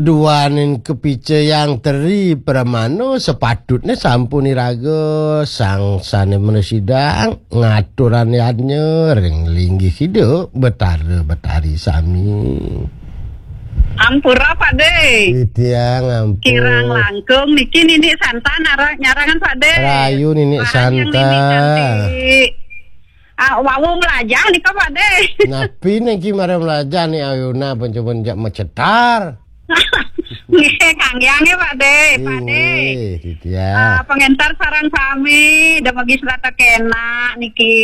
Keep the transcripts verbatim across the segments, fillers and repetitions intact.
Duaning kapica yang teri pramana, sapatutne sampun iraga sang sane mrasidang ngaturang yadnya ring linggih Ida Betara Betari sami. Ampura, Pak De. Titiang ampun. Kirang langkung niki nini santan ara-, nyarangan, Pak De. Rayu nini santan. Rayu nini santan. Ah, wau mlajah nika, Pak De. Napi niki mara mlajah ni Ayuna, pancoban jak macetar. Nggih, kangge, nggih, Pak De, Pak De. Nggih, titiang. Ah, pengentar sareng sami, dumugi serata kenak niki.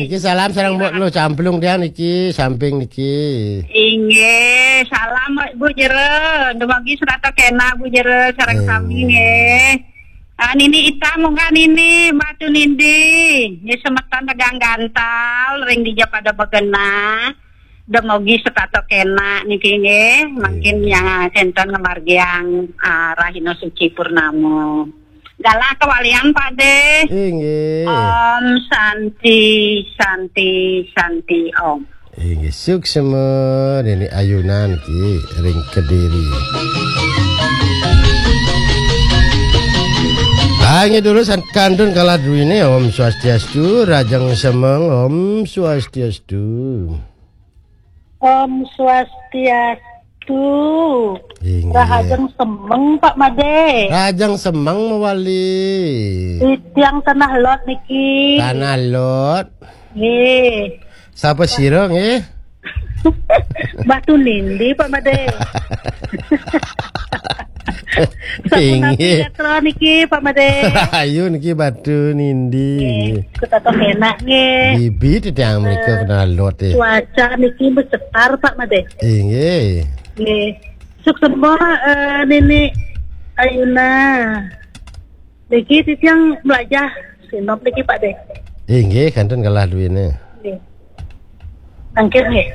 Niki salam sareng Mbok Luh Camplung tiang niki, samping niki. Inggih, salam Bu Jero, dumugi serata kenak Bu Jero sareng sami nggih. Ah, Nini Ita munggah Nini, Mbak Tunindi. Nggih, semeton tegang gantal, ring dija pada begenah. Demogi setata kenak niki nggih. Mangkin yang senten ngemargiang, ah, Rahina Suci Purnama. Galah kewalian, Pak De. Inggih. Om Santi, Santi, Santi Om. Inggih, suksma Nini Ayuna niki ring Kediri. Inggih dulu san-, kantun kalah duwine, Om Swastiastu, Rajeng Semeng, Om Swastiastu. Om Swastiastu. Inggih. Rahajeng Semeng, Pak Made. Rahajeng Semeng mawali. Titiang Tanah Lot niki. Tanah Lot. Nggih. Sapa sira nggih? Mbah Tunindi, Pak Made. Sapunapi gatra niki, Pak Made. Rahayu niki Mbah Tunindi. Nggih, kutata kenak nggih. Bibi titiang mrika kena lot, eh. Cuaca niki macetar, Pak Made. Inggih. Nggih. Suksma, eh, Nini Ayuna. Niki titiang mlajah sinop niki, Pak De. Inggih, kantun kalah duwine. Nggih. Mangkin nggih.